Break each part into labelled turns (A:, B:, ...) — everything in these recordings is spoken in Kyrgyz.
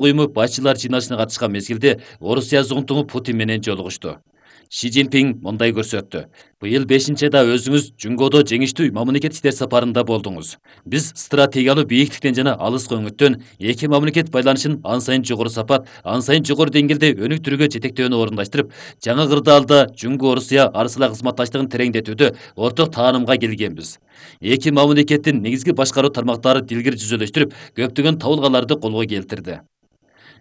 A: уюму башчылар жыйналышына катышкан мезгилде Орусия зуңтуңу Путин менен жолугушту. Ши Цзиньпин мындай көрсөттү. Быйыл 5-айда өзүңүз Жүнгөдө жеңиштүү мамлекет иштер сапарында болдуңуз. Биз стратегиялуу бийиктиктен жана алыскы өңүттөн эки мамлекет байланышын ан сайын жогору сапат, ан сайын жогору деңгээлде өнүктүрүүгө жетектөөнү орундаштырып, жаңы кырдаалда Жүнгө-Орусия арасындагы кызматташтыгын тереңдетүүдө орток таанымга келгенбиз. Эки мамлекеттин негизги башкаруу тармактары дилгир жүзөлөштүрүп, көптөгөн табылгаларды колго келтирди.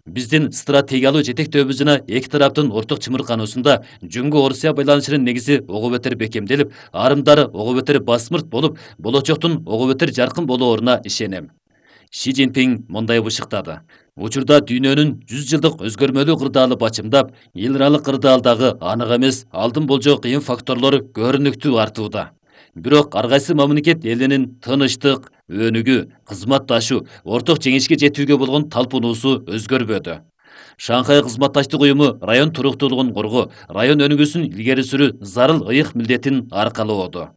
A: Биздин стратегиялуу жетектөөбүз жана эки тараптын орток чымыркануусунда Жүнгө-Орусия байланышынын негизи ого бетер бекемделип, арымдары ого бетер басмырт болуп, болочоктун ого бетер жаркын болооруна ишенем. Ши Цзиньпин мындай бышыктады. Учурда дүйнөнүн 100 жылдык өзгөрмөлүү кырдаалы бачымдап, эл аралык кырдаалдагы анык эмес, алдын болжоо кыйын факторлор көрүнүктүү артууда. Бирок ар кайсы мамлекет элинин тынычтык, өнүгүү, кызматташуу, орток жеңишке жетүүгө болгон талпынуусу өзгөрбөдү. Шанхай кызматташтык уюму район туруктуулугун коргоо, район өнүгүүсүн илгери сүрүү зарыл ыйык милдетин аркалоодо.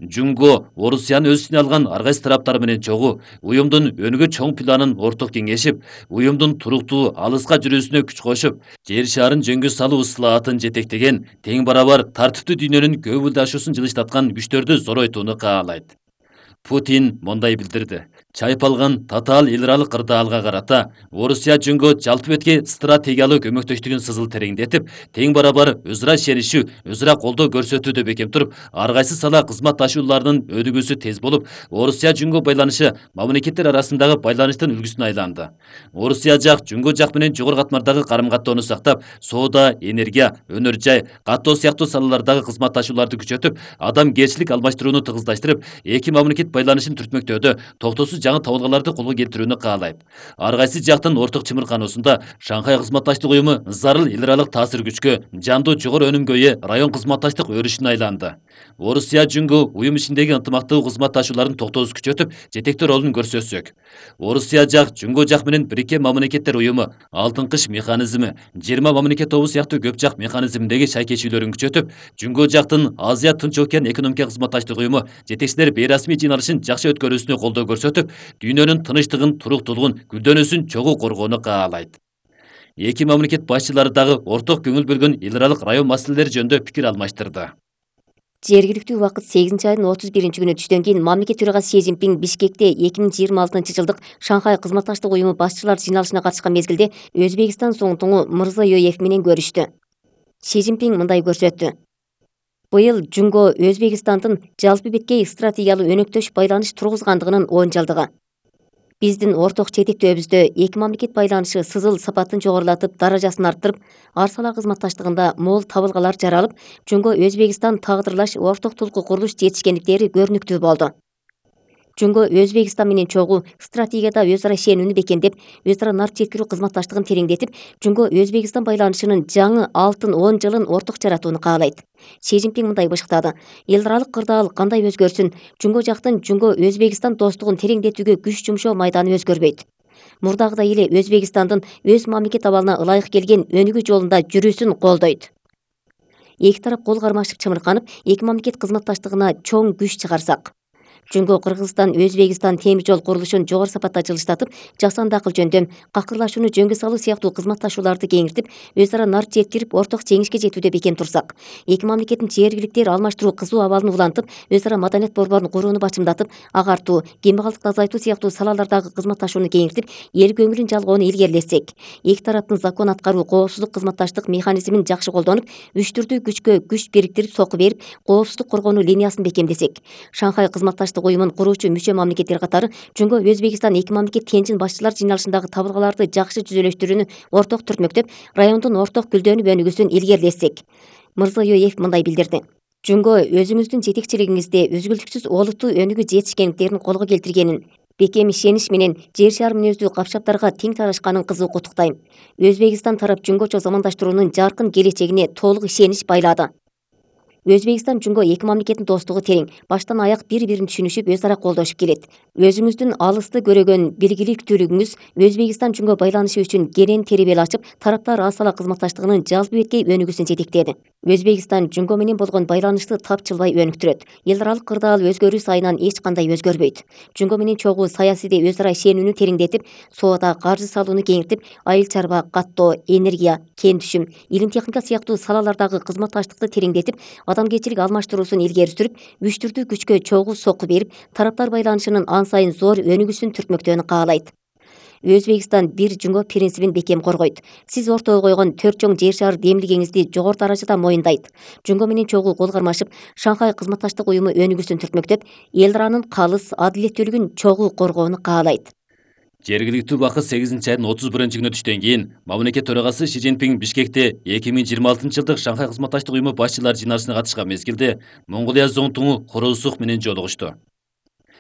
A: Жүнгө Орусияны өз ичине алган ар кайсы тараптар менен чогуу, уюмдун өнүгүү чоң планын орток кеңешип, уюмдун туруктуу алыска жүрүүсүнө күч кошуп, жер шаарын жөнгө салуу ыслаатын жетектеген, тең барабар тартиптүү дүйнөнүн көбүлдашуусун жылыштаткан күчтөрдү зоройтууну каалайт. Путин мындай билдирди. Чайпалган татаал эл аралык кырдаалга карата Орусия Жүнгө жалпы бетке стратегиялуу көмөктөштүгүн сызыл тереңдетип, тең барабар өз ара ишенишүү, өз ара колдоо көрсөтүүдө бекем туруп, ар кайсы сала кызматташуулардын өнүгүүсү тез болуп, Орусия Жүнгө байланышы мамлекеттер арасындагы байланыштын үлгүсүнө айланды. Орусия жак Жүнгө жак менен жогору катмардагы карым-каттоону сактап, соода, энергия, өнөр жай, каттоо сыяктуу салалардагы кызматташууларды күчөтүп, адамгерчилик алмаштырууну тыгыздаштырып, эки мамлекет байланышын түртмөктөөдө токтоосуз жаңы табылгаларды колго келтирүүнү каалайт. Ар кайсы жактын орток чымыркануусунда Шанхай кызматташтык уюму зарыл эл аралык таасир күчкө, жандуу жогору өнүмгө ээ район кызматташтык өрүшүнө айланды. Орусия Жүнгө уюм ичиндеги ынтымактуу кызматташууларын токтоосуз күчөтүп, жетектөө ролун көрсөтсөк, Орусия жак Жүнгө жак менен Бириккен мамлекеттер уюму, Алтын кыш механизми, 20 мамлекет тобу сыяктуу көп жак механизминдеги шайкечүүлөрүн күчөтүп, Жүнгө жактын Азия Тынч океан экономика кызматташтык уюму жетекчилер бейрасмий жыйналышын жакшы өткөрүүсүнө колдоо көрсөтүп, дүйнөнүн тынычтыгын, туруктуулугун, гүлдөнүүсүн чогуу коргоону каалайт. Эки мамлекет башчылары дагы орток көңүл бөлгөн эл аралык район маселелери жөнүндө пикир алмаштырды.
B: Жергиликтүү убакыт 8-айдын 31-күнү түштөн кийин мамлекет төрагасы Ши Цзиньпин Бишкекте 2026-жылдык Шанхай кызматташтык уюму башчылар жыйналышына катышкан мезгилде Өзбекстан зуңтуңу Мырзайоев менен көрүштү. Ши Цзиньпин мындай көрсөттү. Быйыл Жүнгө Өзбекстандын жалпы беткей стратегиялуу өнөктөш байланыш тургузгандыгынын 10 жылдыгы. Биздин орток жетектөөбүздө эки мамлекет байланышы сызыл сапатын жогорулатып, даражасын арттырып, ар сала кызматташтыгында мол табылгалар жаралып, Жүнгө Өзбекстан тагдырлаш орток тулку курулуш жетишкендиктери көрүнүктүү болду. Жүнгө Өзбекстан менен чогуу стратегияда өз ара ишенүүнү бекемдеп, өз ара нарт жеткирүү кызматташтыгын тереңдетип, Жүнгө Өзбекстан байланышынын жаңы алтын 10 жылын орток жаратууну каалайт. Ши Цзиньпин мындай бышыктады. Эл аралык кырдаал кандай өзгөрсүн, Жүнгө жактын Жүнгө Өзбекстан достугун тереңдетүүгө күч жумшоо майданы өзгөрбөйт. Мурдагыдай эле Өзбекстандын өз мамлекет абалына ылайык келген өнүгүү жолунда жүрүүсүн колдойт. Эки тарап кол кармашып чымырканып, эки мамлекет кызматташтыгына чоң күч чыгарсак, Жүнгө Кыргызстан Өзбекстан темир жол курулушун жогору сапатта жылыштатып, жасанды акыл жөндөм, какырлашууну жөнгө салуу сыяктуу кызматташууларды кеңиртип, өз ара нарт жеткирип, орток жеңишке жетүүдө бекем турсак, эки мамлекеттин жергиликтер алмаштыруу кызуу абалын улантып, өз ара маданият борборун курууну бачымдатып, агартуу, кембагалдыкты азайтуу сыяктуу салалардагы кызматташууну кеңиртип, эл көңүлүн жалгоону илгерилетсек, эки тараптын закон аткаруу, коопсуздук кызматташтык механизмин жакшы колдонуп, үчтүрдүү күчкө күч бириктирип сокку берип, коопсуздук коргонуу линиясын бекемдесек, Шанхай кызматташтык уюмун куруучу мүчө мамлекеттер катары Жүнгө Өзбекстан эки мамлекет тенчин башчылар жыйналышындагы табылгаларды жакшы жүзөлөштүрүүнү орток түртмөктөп, райондун орток гүлдөнүп өнүгүүсүн илгерилетсек, Мырзайоев мындай билдирди. Жүнгө өзүңүздүн жетекчилигиңизде үзгүлтүксүз олуттуу өнүгүү жетишкендиктерин колго келтиргенин, бекем ишенич менен жер шары мүнөздүү капшаптарга тең тарашканын кызуу куттуктайм. Өзбекстан тарап Жүнгөчө замандаштыруунун жаркын келечегине толук ишенич байлады. Өзбекстан Жунго эки мамлекеттин достугу терең, баштан аяк бири-бирин түшүнүшүп, өз ара колдошуп келет. Өзүңүздүн алысты көрөгөн билгиликтүүлүгүңүз Өзбекстан Жунго байланышы үчүн кенен теребел ачып, тараптар ас ала кызматташтыгынын жалпы беткей өнүгүүсүн жетектеди. Өзбекстан Жунго менен болгон байланышты тапчылбай өнүктүрөт. Эл аралык кырдаал өзгөрүү сайынан эч кандай өзгөрбөйт. Жунго менен чогуу саясийде өз ара ишенүүнү тереңдетип, соода каржы салууну кеңиртип, айыл чарба, каттоо, энергия, кен түшүм, илим техника сыяктуу салалардагы кызматташтыкты тереңдетип, адамгерчилик алмаштыруусун илгери сүрүп, күчтүрдүү күчкө чогуу сокку берип, тараптар байланышынын ан сайын зор өнүгүүсүн түртмөктөөнү каалайт. Өзбекстан бир Жунго принцибин бекем коргойт. Сиз ортого койгон 4 чоң жер шаар демилгеңизди жогору даражада моюндайт. Жунго менен чогуу кол кармашып, Шанхай кызматташтык уюму өнүгүүсүн түртмөктөп, эл аранын калыс, адилеттүүлүгүн чогуу коргоону каалайт.
A: Жергиликтүү убакыт 8 айдын 31-күнү түштөн кийин мамлекет төрагасы Си Цзиньпин Бишкекте 2026-жылдык Шанхай кызматташтык уюму башчылар жыйналышына катышкан мезгилде Монголия зоңтуңу Хоросух менен жолугушту.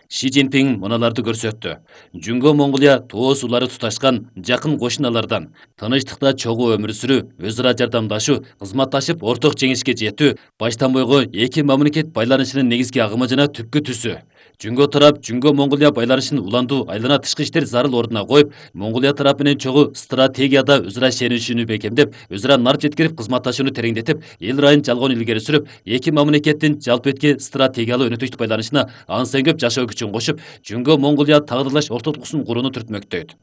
A: Си Цзиньпин мыналарды көрсөттү. Жунго Монголия тоо суулары туташкан жакын кошуналардан тынычтыкта чогуу өмүр сүрүү, өз ара жардамдашуу, кызматташып орток жеңишке жетүү баштан бойго эки мамлекет байланышынын негизги агымы жана түпкү түсү. Жунго тарап Жунго Монголия байланышын улантуу айлана тышкы иштер зарыл ордуна коюп, Монголия тарап менен чогуу стратегияда өз ара ишенишүүнү бекемдеп, өз ара нар жеткирип кызматташууну тереңдетип, эл райын жалгоонун илгери сүрүп, эки мамлекеттин жалпы бетки стратегиялуу өнөктөштүк байланышына ансын көп жашоо күчүн кошуп, Жунго Монголия тагдырлаш ортодуксун курууну түртмөктөйт.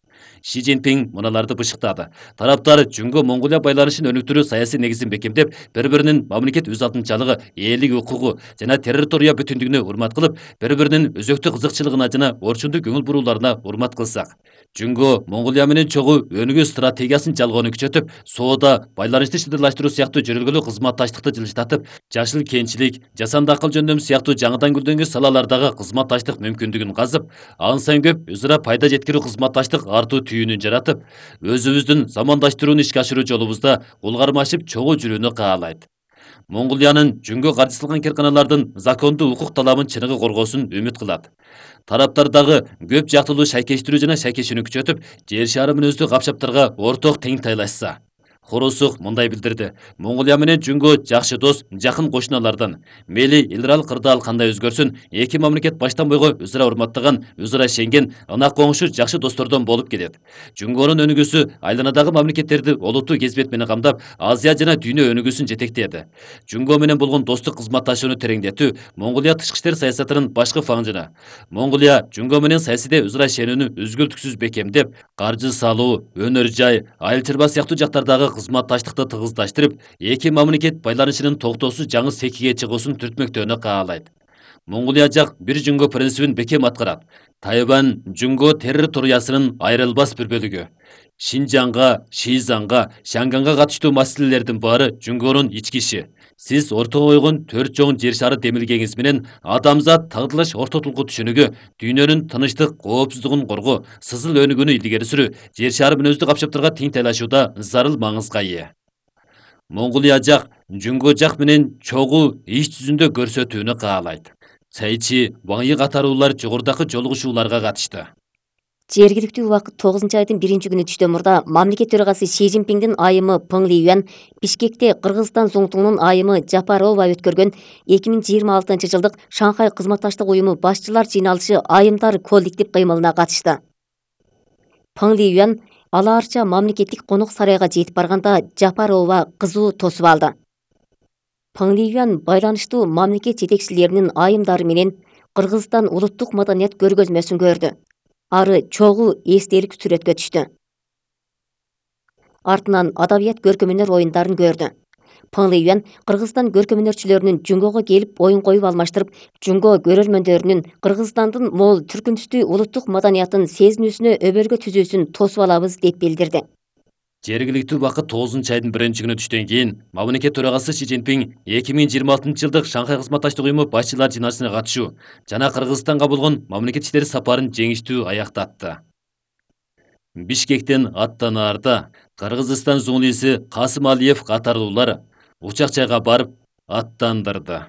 A: Си Цзиньпин мыналарды бышыктады. Тараптар Жунго Монголия байланышын өнүктүрүү саясий негизин бекемдеп, бири-биринин мамлекет өз алдынчалыгы, элдик укугу жана территория бүтүндүгүнө урмат кылып, бири-биринин өзөктүк кызыкчылыгына жана орчундук көңүл бурууларына урмат кылсак, Жунго Монголия менен чогуу өнүгүү стратегиясын жалгоону күчөтүп, соода, байланышты шыдырлаштыруу сыяктуу жөрөлгөлүү кызматташтыкты жылжытатып, жашыл кенчилик, жасанды акыл жөндөм сыяктуу жаңыдан гүлдөнгөн салалардагы кызматташтык мүмкүндүгүн казып, ан сайын көп өз ара пайда жеткирүү кызматташтык артуу түйүнүн жаратып, өзүбүздүн замандаштырууну ишке ашыруу жолубузда кол кармашып чогуу жүрүүнү каалайт. Монголиянын Жунго каржысылган керканалардын закондуу укук талабын чыныгы коргоосун үмүт кылат. Тараптар дагы көп жактылуу шайкештирүү жана шайкешүүнү күчөтүп, жер шаары мүнөздүү капчаптарга орток тең тайлашса. Хоросух мындай билдирди. Монголия менен Жунго жакшы дос, жакын кошуналардан. Мели эл аралык кырдаал кандай өзгөрсүн, эки мамлекет баштан бойго өз ара урматтаган, өз ара ишенген, ынак коңшу жакшы достордон болуп келет. Жунгонун өнүгүүсү айланадагы мамлекеттерди олуттуу кезбет менен камдап, Азия жана дүйнө өнүгүүсүн жетектеди. Жунго менен болгон достук кызматташууну тереңдетүү Монголия тышкы иштер саясатынын башкы фаңжына. Монголия Жунго менен саясийде өз ара ишенүүнү үзгүлтүксүз бекемдеп, каржы салуу, өнөр жай, айыл чарба сыяктуу жактардагы кызматташтыкты тыгыздаштырып, эки мамлекет байланышынын токтоосуз жаңы секиге чыгуусун түртмөктөөнү каалайт. Монголия жак бир Жунго принцибин бекем аткарат. Тайвань Жунго территориясынын айрылбас бир бөлүгү. Шинжаңга, Шизанга, Шанганга катыштуу маселелердин баары Жунгонун ички иши. Сиз ортого койгон 4 чоң жер шары демилгеңиз менен адамзат тагдырлаш ортотулгу түшүнүгү, дүйнөнүн тынычтык, коопсуздугун коргоо, сызыл өнүгүүнү илгери сүрүү, жер шары мүнөздүү капчаптарга тең тайлашууда зарыл маңызга ээ. Монголия жак Жунго жак менен чогуу иш жүзүндө көрсөтүүнү каалайт. Цайчи, Ваңйы катаруулар жогорудагы жолугушууларга катышты.
B: Жергиликтүү убакыт 9 айдын 1-күнү түштөн мурда мамлекет төрагасы Си Цзиньпиндин айымы Пeng Liyuan Бишкекте Кыргызстан зоңтуңунун айымы Жапарова өткөргөн 2026-жылдык Шанхай кызматташтык уюму башчылар жыйналышы айымдар коллектив кыймылына катышты. Peng Liyuan алаарча мамлекеттик конок сарайга жетип барганда Жапарова кызуу тосуп алды. Peng Liyuan байланыштуу мамлекет жетекчилеринин айымдары менен Кыргызстан улуттук маданият көргөзмөсүн көрдү. Ары чогуу эстелик сүрөткө түштү. Артынан адабият көркөмөнөр оюндарын көрдү. Peng Liyuan Кыргызстан көркөмөнөрчүлөрүнүн Жунгого келип оюн коюп алмаштырып, Жунго көрөрмөндөрүнүн Кыргызстандын мол түркүнтүстүү улуттук маданиятын сезинүүсүнө өбөлгө түзүүсүн тосуп алабыз деп билдирди.
A: Жергиликтүү убакыт 9 айдын 1-күнү түштөн кийин мамлекет төрагасы Си Цзиньпин 2026-жылдык Шанхай кызматташтык уюму башчылар жыйналышына катышуу жана Кыргызстанга болгон мамлекет иштери сапарын жеңиштүү аяктатты. Бишкектен аттанаарда Кыргызстан зуңлиси Касым Алиев катарлуулар учак жайга барып аттандырды.